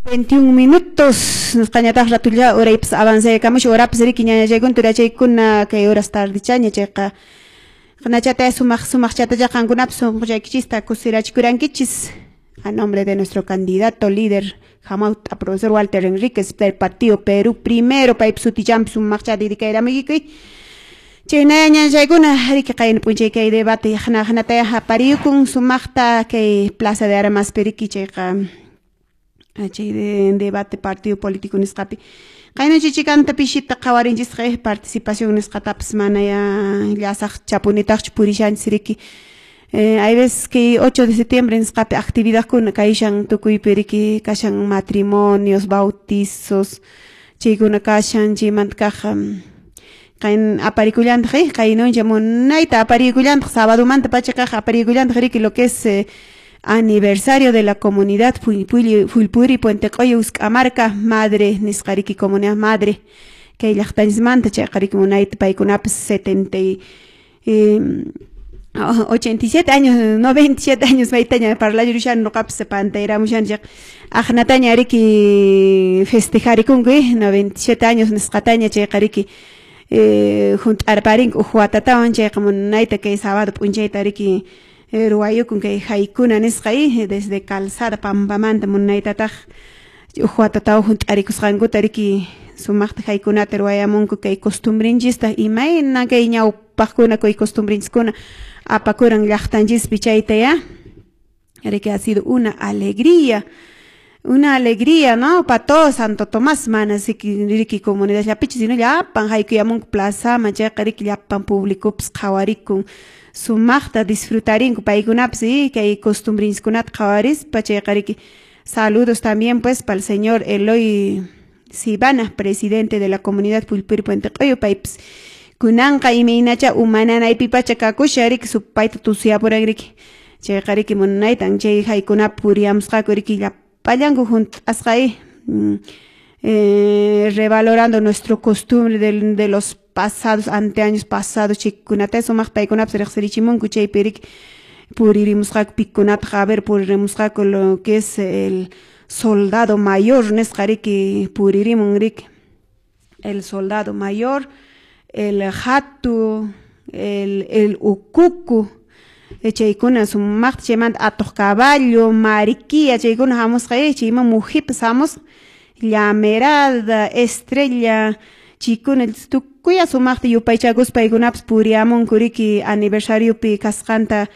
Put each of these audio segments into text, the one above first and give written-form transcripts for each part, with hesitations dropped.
21 minutos nisqañataq ratulla uraypas avanzaykamush horapas riki ñañachaykuna turachaykuna kay horas tardichaña chayqa qanachata sumaq sumaqchatacha qankunapas sunquchaykichista kusirachikurankichis a nombre de nuestro candidato líder Hamawt'a profesor Walter Enríquez del Partido Perú Primero paypa sutichanpi sumaqchata dedicayramuykiku. Chaynaya ñañachaykuna riki qayna p'unchay kay debate hanataya apariyukun sumaqta kay Plaza de Armas riki chayqa chay debate partido político nisqapi qayna chichikanta pishita qhawarinchisqa participación nisqatapas manaya llasaq chapunitaqchu purishanchis riki. Hay veces que 8 de septiembre nisqapi actividadkuna kayshan tukuypi riki kashan matrimonios, bautizos, chaykuna kashan chaymanta kaq qayn aparikullantaq qaynuncha munayta aparikullantaq sabadomanta pacha kaq aparikullantaq riki lo que es aniversario de la comunidad Fuilpuri Puente Q'uyu Usk'amarka madre nisqa riki comunidad madre kay llaqtanchismanta chayqa riki munayta paykunapas 87 años, 97 años maytaña parlayurushani nuqapas pantayramushani chayqa aqnataña riki festejarikunku 97 años nisqataña chayqa riki hunt'arparinku uj watatawan chayqa munayta kay sábado p'unchayta riki ruwayukun kay haykuna nisqa desde Calzada Pampamanta munaytataq uj watatawan hunt'arikusqankuta riki sumaqta haykunata ruwayamunku kay costumbrinchista imayna kay ñawpaqkuna kay costumbrinchiskuna apakuran llaqtanchispi chayta ya riki ha sido una alegría, ¿no? Pa todo Santo Tomás mana riki comunidad llapichi sino llapan haykuyamunku plazaman chayqa riki llapan públicopas qhawarikun sumaqta disfrutarinku paykunapas kay costumbrinchiskunata qhawarispa chayqa riki. Saludos también pues para el señor Eloy Sibana, presidente de la comunidad Pulpiri Puente Q'uyu, paypas kunanqa imaynacha umananaypipacha kakusha riki supayta tusiyapuran riki chayqa riki munaytan chay haykunapi puriyamusqaku riki llapallanku hunt'asqa revalorando nuestro costumbre de los pasados, anteaños pasados, chaykunata sumaq paykunapas riqsirichimunku chaypi riki puririmusqaku pikunataq a ver puririmusqaku lo que es el soldado mayor nisqa riki puririmun riki el soldado mayor, el hatu, el ukuku, chaykuna sumaqta chaymanta atuq caballo, mariquilla chaykuna hamusqa chayman mujipas hamusqa llamerada, estrella, chaykuna tukuya sumaqta yupaychakuspa paykunapas puriyamunku riki aniversariopi kasqanta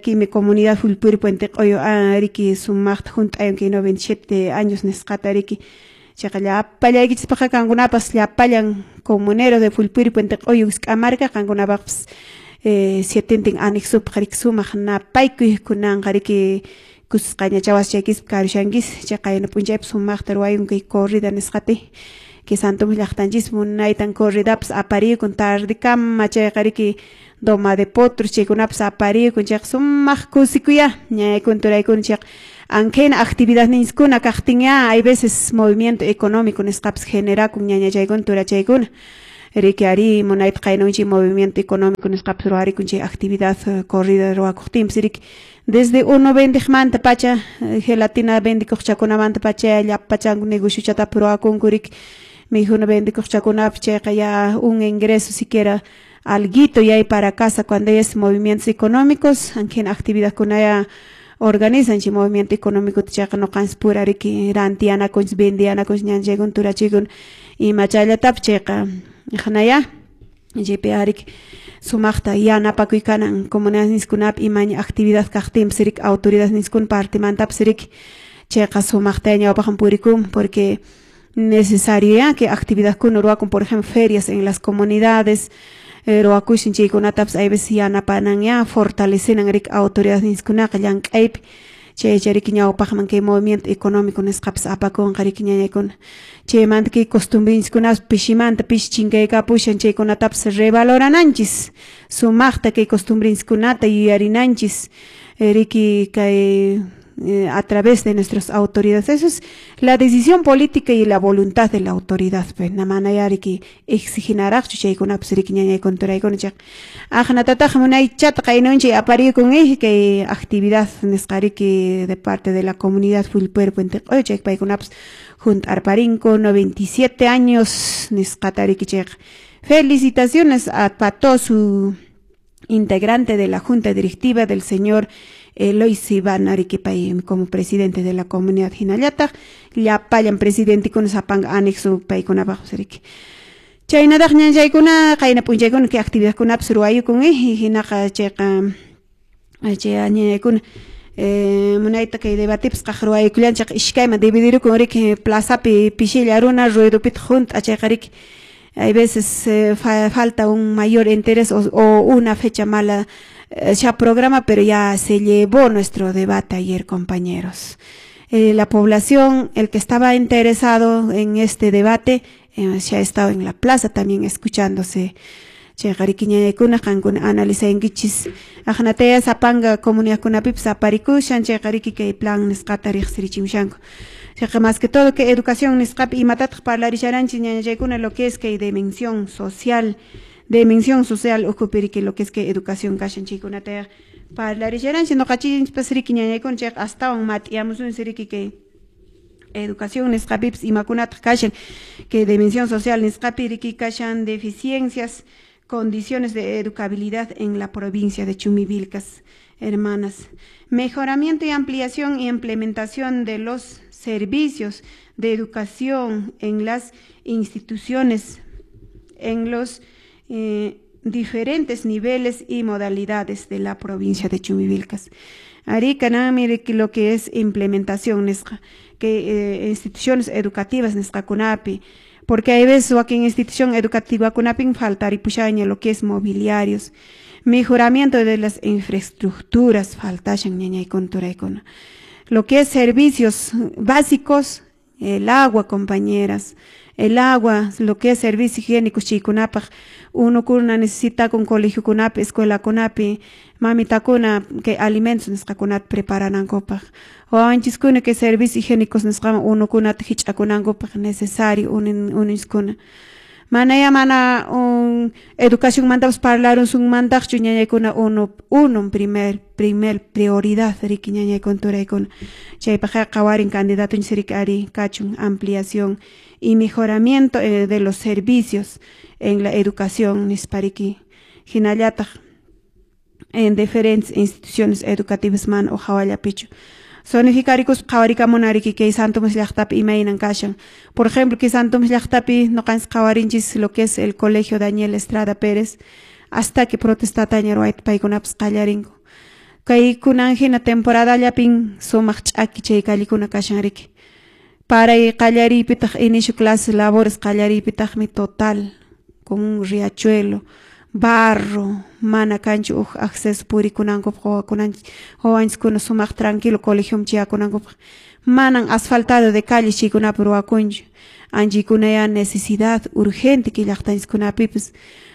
kimi comunidad Fulpuri Puente Q'uyu riki sumaqta hunt'ayun kay 97 años nisqata riki chayqa llapallaykichispaqqa qankunapas llapallan comuneros de Fulpuri Puente Q'uyu Usk'amarka qankunapaqpas sietentin anexopaq riki sumaq napaykuy kunanqa riki kusqaña waschaykispaq karushankis chay qayna p'unchaypi sumaqta ruwayun kay corrida nisqati kay Santo Tomás llaqtanchis munaytan corridapas aparikun tardekama chayqa riki doma de potros chaykunapas aparikun chayqa sumaq kusikuya ñañaykuna turaykuna chayqa ankhina actividadninchiskuna kaqtin ya hay veces movimiento económico nisqapas generakun ñañachaykuna turachaykuna riki ari munayta qaynunchik movimiento económico nisqapas ruwarikun chay actividad corrida ruwakuqtinpas riki desde uno vendiqmanta pacha gelatina vendikuqchakunamanta pacha llapachanku negociochatapas ruwakunku riki mikhuna vendikuqchakunapas chayqa ya un ingreso siquiera alguito ya hay para casa cuando hay movimientos económicos ankhina actividadkuna ya organizan chay movimiento económico chayqa nuqanchis pura riki rantiyanakunchis vendiyanakunchis ñanchaykuna turachaykuna ima chayllatapas chayqa hanaya chaypi riki sumaqta yanapakuy kanan comunidadninchikkunapi imaña actividad kaqtinpas riki autoridadninchikkuna partemantapas riki chayqa sumaqta ñawpaqman purikun porque necesario ya que actividadkuna ruwakun por ejemplo ferias en las comunidades ruwakushin chaykunatapas hay veces yanapanan ya fortalecenan riki autoridadninchikkunaqa llank'aypi chaycha riki ñawpaqman kay movimiento económico nisqapas apakunqa riki ñañaykuna chaymanta kay costumbrinchikkunapas pishimanta pishi chinkaykapushan chaykunatapas revalorananchis sumaqta kay costumbrinchikkunata yuyarinanchis riki kay A través de nuestras autoridades. Eso es la decisión política y la voluntad de la autoridad. Pues, manaya riki exiginaraqchu chaykunapas riki ñañaykuna turaykuna chayqa aqnatataq munaychata qaynunchay aparikun kay actividad nisqa riki de parte de la comunidad Fullpuer Puente Q'uyu chay paykunapas junt'arparinku 97 años nisqata riki chayqa. Felicitaciones a todo su integrante de la junta directiva del señor Eloy Iván Arequipay como presidente de la comunidad hinallataq llapallan presidente sapanka anexo paykunapaq riki. Chaynataq ñanchaykuna qayna p'unchaykuna kay actividadkunapas ruwayukun hinaqa chayqa chay ñañaykuna munayta kay debatepas qaq ruwayukullanchik iskayman dividirukun riki plazapi pishilla runa ruedopitaq junt'a chayqa riki. Hay veces falta un mayor interés o una fecha mala ya programa, pero ya se llevó nuestro debate ayer, compañeros. La población, el que estaba interesado en este debate, se ha estado en la plaza también escuchándose. Chayqa riki ñañaykuna qankuna analizankichis aqnataya sapanka comunidadkunapipis aparikushan chayqa riki kay plan nisqata riqsirichimushanku. Chayqa más que todo que educación nisqapi imatataq parlarisharanchis ñañachaykuna lo que es kay dimensión social ukhupi riki lo que es que educación kashan chaykunata parlarisharanchis ñuqanchikpas riki ñañaykuna chayqa astawan mat'iyamusunchis riki kay educación nisqapipis imakunataq kashan que dimensión social nisqapi riki kashan deficiencias, condiciones de educabilidad en la provincia de Chumbivilcas, hermanas. Mejoramiento y ampliación y implementación de los servicios de educación en las instituciones, en los diferentes niveles y modalidades de la provincia de Chumbivilcas. Arica, mire lo que es implementación, que instituciones educativas nisqakunapi, porque hay veces aquí en institución educativa kunapin faltaripushaña lo que es mobiliarios, mejoramiento de las infraestructuras faltashan ñañaykuna turaykuna, lo que es servicios básicos, el agua, compañeras, el agua, lo que es servicios higiénicos chaykunapaq, unukuna necesita con colegio kunapi, escuela kunapi, mamitakuna que alimentos nisqakunata preparanankupaq, wawanchiskuna que servicios higiénicos nisqaman unukunata hich'akunankupaq necesario uninskuna. Manaya mana un educación mantapas parlarusunmantaqchu ñañaykuna uno primer prioridad riki ñañaykuna turaykuna. Chaypaqqa qawarin candidatonchis riki ari kachun ampliación y mejoramiento de los servicios en la educación nispariki hinallataq en diferentes instituciones educativas man o hawallapichu. Zonificarikus qhawarikamunariki kay Santomas llaqtapi imaynan kashan. Por ejemplo, kay Santomas llaqtapi ñuqanchis qhawarinchis lo que es el colegio Daniel Estrada Pérez hasta que protestataña ruwayta paykunapas qallarinku. Kay kunan hina temporadallapin sumaq ch'aki chay callikuna kashan riki. Paray qallariypitaq inicio clases labores qallariypitaqmi total con un riachuelo, barro, mana kanchu uj acceso purikunankupaq wawanchiskuna sumaq tranquilo colegioman chayakunankupaq, manan asfaltado de calles chaykunapi ruwakunchu, anchaykunaya necesidad urgente kay llaqtanchiskunapipis,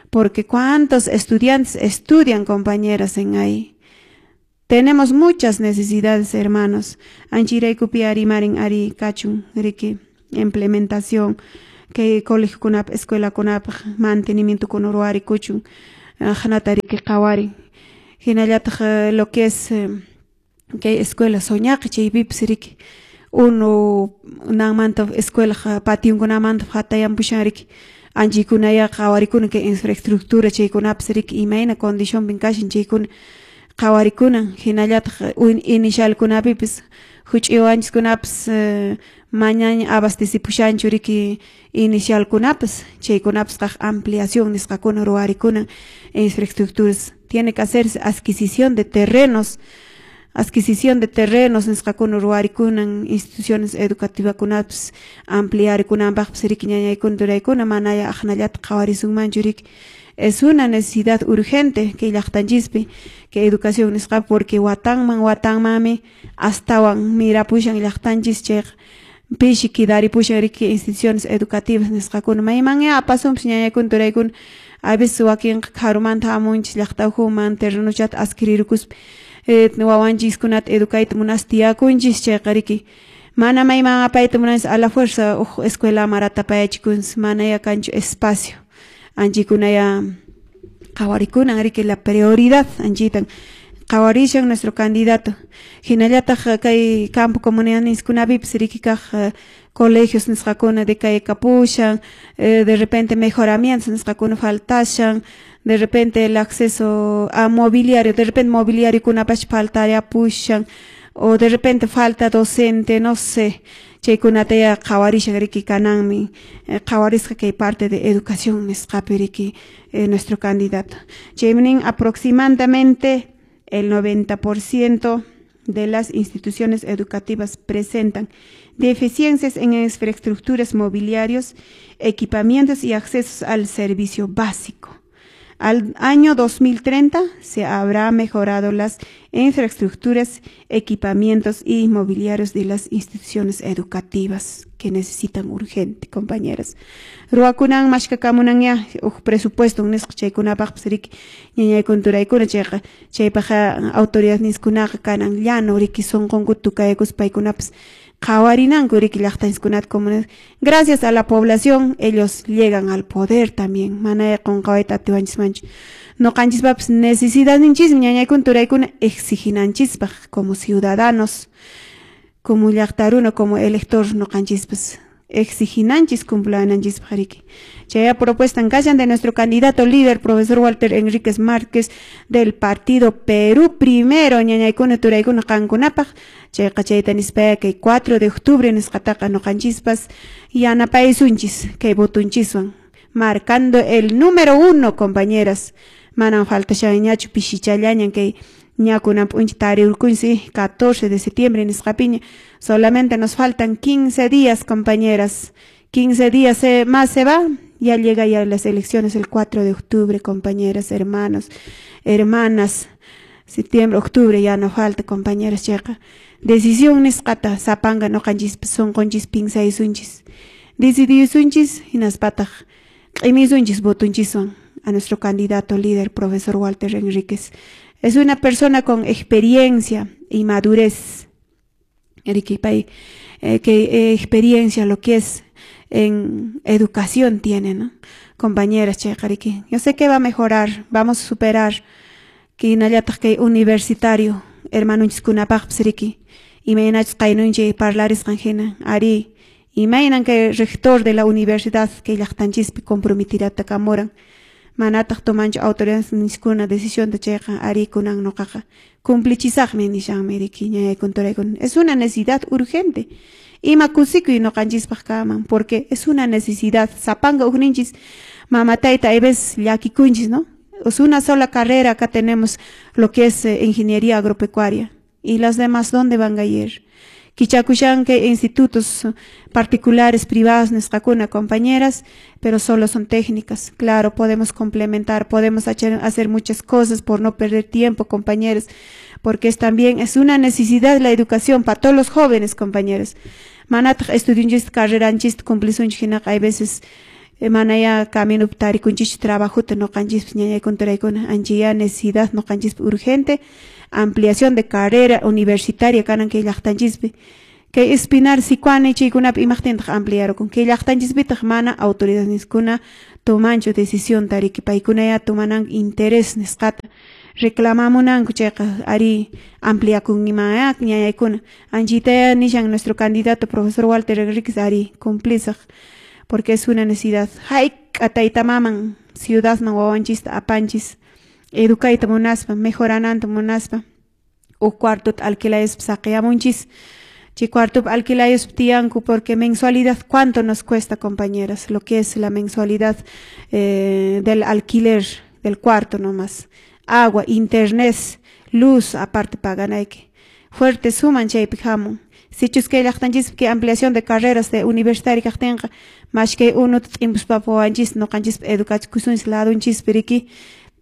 porque cuántos estudiantes estudian, compañeras, en ahí. Tenemos muchas necesidades, hermanos. Anchayraykupi ari marin ari kachun riki implementación que colegio kunap, escuela kunap, mantenimiento kun ruwarikuchun, hanata riki qhawarin. Hinallataq lo que es kay escuela soñaqi chaypipis riki uno nanmanta escuela pationkunamanta hatayapushan riki anchaykunaya qhawarikuna kay infraestructura chaykunapas riki imayna condicionpin kashan chaykuna qhawarikunan. Hinallataq inicialkunapipis huch'uy wawanchiskunapas mañaña abastecipushanchu riki inicialkunapas chaykunapas qaq ampliación nisqakuna ruwarikunan infraestructuras. Tiene que hacerse adquisición de terrenos nisqakuna ruwarikunan instituciones educativakunapas ampliarikunanpaqpas riki ñañaykuna turaykuna manaya aqnallata qhawarisunmanchu riki. Es una necesidad urgente que llaqtanchispi que educación nisqa porque watanman watanmanmi astawan mirapushan llaqtanchis chayqa pishi kidaripushan riki instituciones educativas nisqakuna maymanya apasunpis ñañaykuna turaykuna a veces wakinqa kharumanta hamunchis llaqta ukhuman terrenochata adquirirukuspa Wawanchiskunata educayta munaspa tiyakunchis chayqa riki mana mayman apayta munanchis a la fuerza huk escuela maratapayachikunchis mana kanchu espacio anchikunaya qhawarikunan riki la prioridad anchitan qhawarishan nuestro candidato hinallataq kay campo comunidadniskunapipas riki kaq colegios nisqakuna decaykapushan de repente mejoramientos nisqakuna faltashan de repente el acceso a mobiliario de repente mobiliario kunapash faltariapushan o de repente falta docente no sé chaykunata ya qhawarishan riki kananmi qhawarisqa kay parte de educación nisqapi riki nuestro candidato chaymi nin aproximadamente el 90% de las instituciones educativas presentan deficiencias en infraestructuras mobiliarios, equipamientos y accesos al servicio básico. Al año 2030 se habrá mejorado las infraestructuras, equipamientos y mobiliarios de las instituciones educativas que necesitan urgente, compañeras. Ruwakunan mashkakamunanya huk presupuesto nisqa chaykunapaqpas riki ñañaykuna turaykuna chayqa chaypaqqa autoridad niskunaqa kanan llano riki sunqunkuta tukaykuspa paykunapas qhawarinanku riki llaqtanchiskunata comunidad. Gracias a la población ellos llegan al poder también mana qunqawayta atiwanchismanchu ñuqanchispapas necesidadninchismi ñañaykuna turaykuna exiginanchispaq como ciudadanos como llaqtaruna como elector ñuqanchispas exiginanchis cumplananchispaq riki chaya propuesta kashan de nuestro candidato líder profesor Walter Enríquez Márquez del partido Perú Primero ñañaykuna turaykuna qankunapaq chayqa chayta nispaya kay 4 de octubre nisqataqa ñuqanchispas yanapaysunchis kay votunchiswan marcando el número 1 compañeras manan faltashanñachu pishichallañan kay ñakunan p'uncha tarirkunsi 14 de septiembre nisqapiña solamente nos faltan 15 días compañeras 15 días más se va ya llega ya las elecciones el 4 de octubre compañeras hermanos hermanas septiembre octubre ya no falta compañeras chayqa decisión nisqata sapanka ñuqanchispas sunqunchis pinsaysunchis decidiysunchis hinaspataq q'imisunchis votunchiswan a nuestro candidato líder profesor Walter Enríquez. Es una persona con experiencia y madurez. Riki pay que experiencia lo que es en educación tiene, ¿no? Compañeras chayqa riki yo sé que va a mejorar, vamos a superar que hinallataq kay universitario hermanonchiskunapaqpas riki imaynachus qaynunchik parlarisqan hina ari imaynan kay rector de la universidad kay llaqtanchispi comprometirata manataq tomanchu autoridades niskuna decisión de chayqa ari kunan ñuqaqa cumplichisaqmi nishanmi riki ñañaykuna turaykuna es una necesidad urgente ima kusikuy ñuqanchispaq kaman porque es una necesidad sapanka ukninchis mama tayta hay veces llakikunchis, ¿no? Es una sola carrera acá tenemos lo que es ingeniería agropecuaria y las demás ¿dónde van a ir? Kichakushan kay institutos particulares privados nisqakuna compañeras pero solo son técnicas claro podemos complementar podemos hacer muchas cosas por no perder tiempo compañeros porque es también es una necesidad la educación para todos los jóvenes compañeros manataq estudiunchis carreranchis cumplisunchik hinaqa hay veces manaya camino tarikunchis trabajota ñuqanchispas ñañaykuna turaykuna anchaya necesidad ñuqanchispi urgente ampliación de carrera universitaria kanan kay llaqtanchispi kay Espinar Sicuani chaykunapi imaqtintaq ampliarukun kay llaqtanchispitaq mana autoridad niskuna tomanchu decisión tariki paykunaya tomananku interés nisqata reclamamunanku chayqa ari ampliakunimaya ñañaykuna anchitaya nishan nuestro candidato profesor Walter Enríquez ari cumplisaq porque es una necesidad hayk'a tayta maman ciudadman wawanchista apanchis educayta munaspa mejorananta munaspa huk cuartota alquilayuspa saqiyamunchis chay cuartopi alquilayuspa tiyanku porque mensualidad cuánto nos cuesta compañeras lo que es la mensualidad del alquiler del cuarto nomás agua internet luz aparte paganayki fuerte suman chaypi hamun sichus kay llaqtanchispi kay ampliación de carreras de universitaria kaqtinqa mash kay unuta t'impuspapas wawanchis ñuqanchispa educachikusunchis ladunchispi riki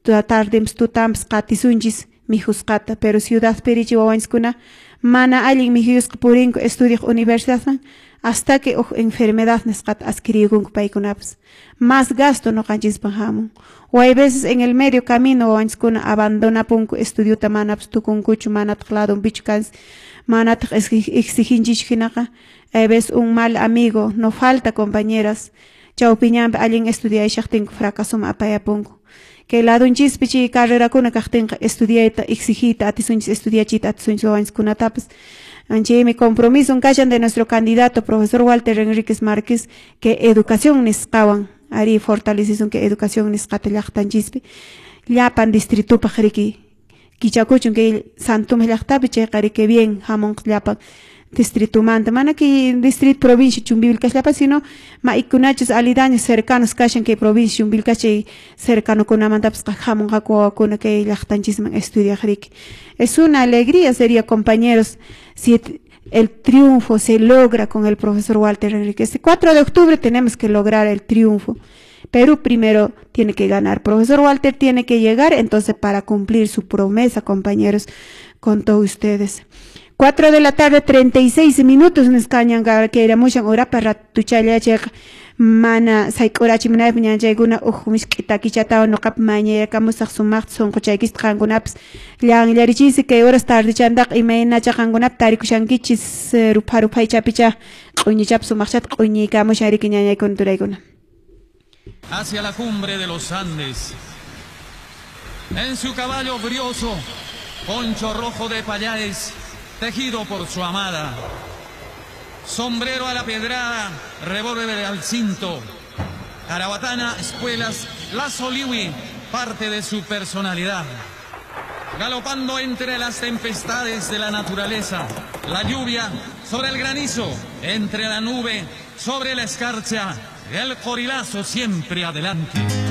tardempas tutampas qatisunchis mijusqata pero ciudadpi richi wawanchiskuna mana allin mijuyusqa purinku estudiaq universidadman Hasta que huk enfermedad nisqata adquiriykunku paykunapas. Más gasto ñuqanchispaq hamun. O hay veces en el medio camino wawanchiskuna abandonapunku estudiota, manapas tukunkuchu, manataq ladunpichu kansi, manataq exiginchichu hinaqa. Hay veces un mal amigo, no falta, compañeras, chawpi ñanpi allin estudiayshaqtinku fracasoman apayapunku. Kay ladunchispi chay carrerakuna kaqtinqa estudiayta exigiyta atisunchis, estudiachiyta atisunchis wawanchiskunatapas. Chaymi compromiso kashan de nuestro candidato profesor Walter Enríquez Márquez que educación nisqawan ari fortalecisun que educación nisqata llaqtanchispi llapan distritupaq riki kichakuchun kay Santume llaqtapi chayqa riki bien hamunqa llapan distritumanta, mana kay distrito provincia Chumbivilcas llapa, sino maikunachus aledaños cercanos kashan kay provincia Chumbivilcas chay cercanokunamantapas hamunqaku wawakuna kay llaqtanchisman estudiaq riki. Es una alegría sería, compañeros, si el triunfo se logra con el profesor Walter Enríquez. Este 4 de octubre tenemos que lograr el triunfo. Perú primero tiene que ganar. Profesor Walter tiene que llegar entonces para cumplir su promesa, compañeros, con todos ustedes. 4 de la tarde, 36 minutos, nisqañan kayramushan urapa ratuchalla chayqa mana sayk'urachimunaypaq ñanchaykuna uj misk'i takichatawan ñuqapi mañayakamusaq sumaqta sunquchaykista qankunapas llanllarichiysi kay horas tardechantaqa imaynacha qankunapi tarikushankichis rupha ruphaychapicha q'uñichapi sumaqchata q'uñiykamushan riki ñañaykuna turaykuna. Hacia la cumbre de los Andes, en su caballo brioso, poncho rojo de payares, tejido por su amada, sombrero a la pedrada, revólver al cinto, carabatana, espuelas, lazo liwi, parte de su personalidad. Galopando entre las tempestades de la naturaleza, la lluvia sobre el granizo, entre la nube, sobre la escarcha, el corilazo siempre adelante.